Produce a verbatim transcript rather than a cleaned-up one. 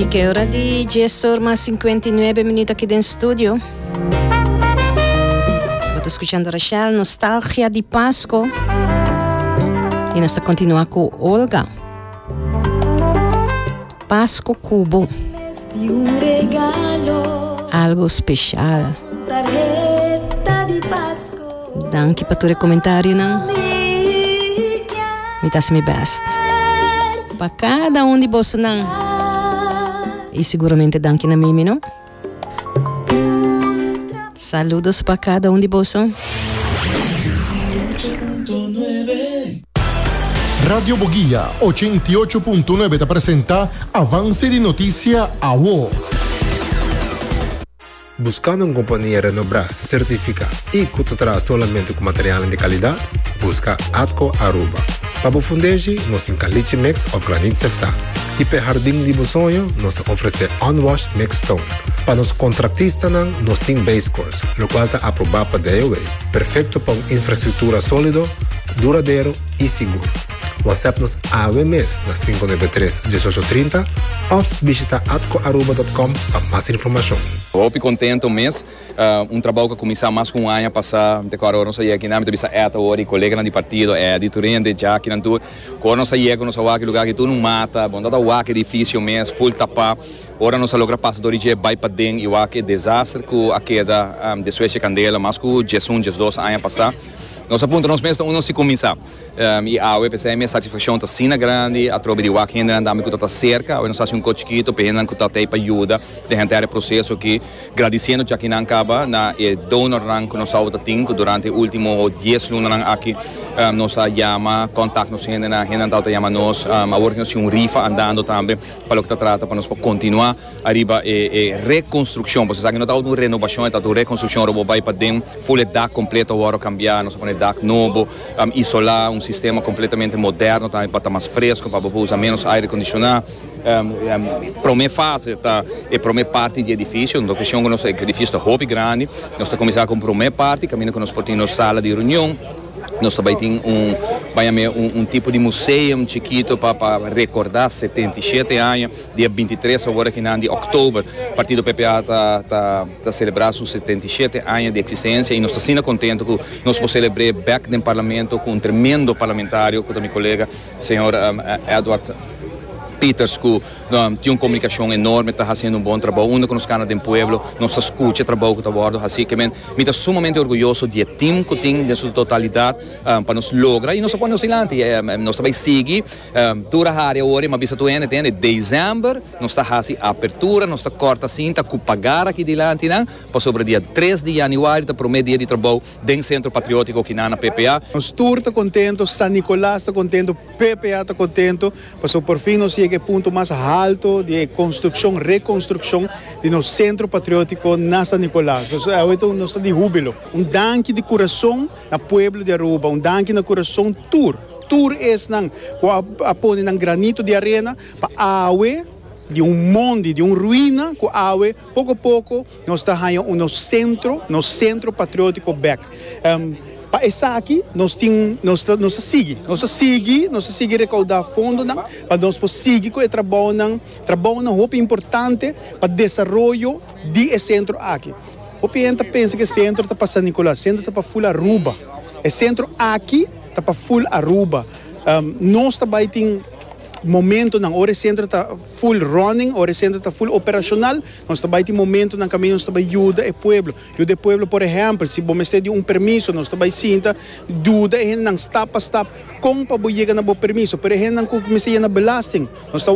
Y ki ora di dies or mas cincuenta y nuebe minuut aki den studio. Bo ta scuchando Rachel, Nostalgia di Pasco. Y nos ta continua cu Olga. Pasco Cu Bo. Di un regalo, Algo special. Tarheta di Pasco. Danki pa tur comentario, no? Mi Mi ta mi best. Pa cada un di boso, no? Y seguramente danki na Mimi, no? Saludos pa cada un di boso. Radio Boguia ochenta y ocho punto nuebe ta presenta Avance di Noticia Awo. Buscando un compania renombra, certifica y cu ta traha solamente cu material di calidad? Busca Atco Aruba. Pa bo fundeshi, nos tin caliche mix of graniet sefta. Y pa hardin di bo soño, nos ta ofrece unwashed mixed stone. Pa nos contratistanan, nos tin base course, locual ta aproba pa D O W. Perfecto pa un infrastructura solido, duradero y sigur. WhatsApp nos awe mes na cinco nuebe tres diesocho trinta of bishita atcoaruba punto com pa mas informacion. Hopi contento mes, uh, un trabou cu a cuminsa mas cu un aña pasa, te awor nos a yega aki na, mi bisa eta ora, colega di partido, é di Turende, Jack nan tur, ora nos a yega, nos a wak lugar cu tur un mata, bon data wak edificio mes, full tapa, ora nos a logra pasa door di bay paden y wak e desaster cu a keda um, despues di candela, mas cu diesun, diesdos aña pasa. Nos a puntra nos mes unda si cuminsa. Um, y awe, pesey mi satisfaccion ta asina grandi, atrobe di wak hende nan cu ta cerca, awe nos a haci un cos chikito, pa hende cu ta pa yuda den henter e proceso aki, gradiciendo ya cu nan caba na e donor nan cu nos tin durante e ultimo dies luna nan aki, um, nos a yama, contact nos hende nan, hende nan ta yama nos, um, awor nos tin un rifa andando tambe pa loke ta trata pa nos continua ariba e, e reconstruccion, pasobra cu no ta un renovacion, ta un reconstruccion, ora bay paden, full dak completo awor cambia, nos pone dak nobo, um, isola, un sistema completamente moderno tambe pa ta mas fresco, pa usa menos aire condiciona. Um, um, prome fase ta e prome parti di edificio, un cuestion cu nos edificio ta hopi grandi, nos ta cuminsa cu prome parti, caminda cu nos por tin sala di reunion, nos tambe tin un, bay un, un tipo di museo chikito pa pa recorda setenta y shete aña, dia bintitres awor aki di october, partido P P A ta ta ta celebra su setenta y shete aña di existencia y nos ta asina contento cu nos por celebra back den parlamento cu un tremendo parlamentario, cu mi colega, señor um, Edward Pieters, cu um, tin un comunicacion enorme, ta haciendo un bon trabou, unda cu nos cana den pueblo, nos ta scucha e trabou cu ta wordo, asina cu men, mi ta sumamente orguyoso di e team cu tin den su totalidad um, pa nos logra y nos pone nos dilanti, um, nos tambe sigui, um, dura area ora, mas bisa tu ende, entende? December, nos ta haci apertura, nos ta corta cinta, cu pagar aki dilanti, no? Pasobra dia tres di januari, ta prome dia di trabou den Centro Patriotico aki na P P A. Nos tur ta contento, San Nicolas ta contento, P P A ta contento, pasobra por fin nos yega na e punto mas halto di construccion, reconstruccion di nos Centro Patriotico na San Nicolas. Anto, nos ta di hubilo. Un danki di curason na pueblo di Aruba, un danki na curason tur. Tur esnan cu a pone nan granito di arena pa awe di un mondi, di un ruina, cu awe, poco poco, nos ta hayando nos centro, nos Centro Patriotico back. Um, pa esaki, nos tin, nos nos sigui, nos sigui, nos sigui recauda fondo nan, pa nos por sigui cu e trabou nan, trabou nan hopi importante pa desaroyo di e centro aki. Hopi hende ta pensa cu e centro ta pa San Nicolas, centro ta pa full Aruba. E centro aki ta pa full Aruba. Um, nos tambe tin momento nan ora e centro ta full running, ora e centro ta full operacional, nos tambe tin momento nan caminda nos tambe yuda e pueblo. Yuda e pueblo, por ehempel, si bo mester di un permiso, nos tambe sinta, yuda e nan stap pa stap, con pa yega na bo permiso. Por ehempel, cu mester na belasting, nos ta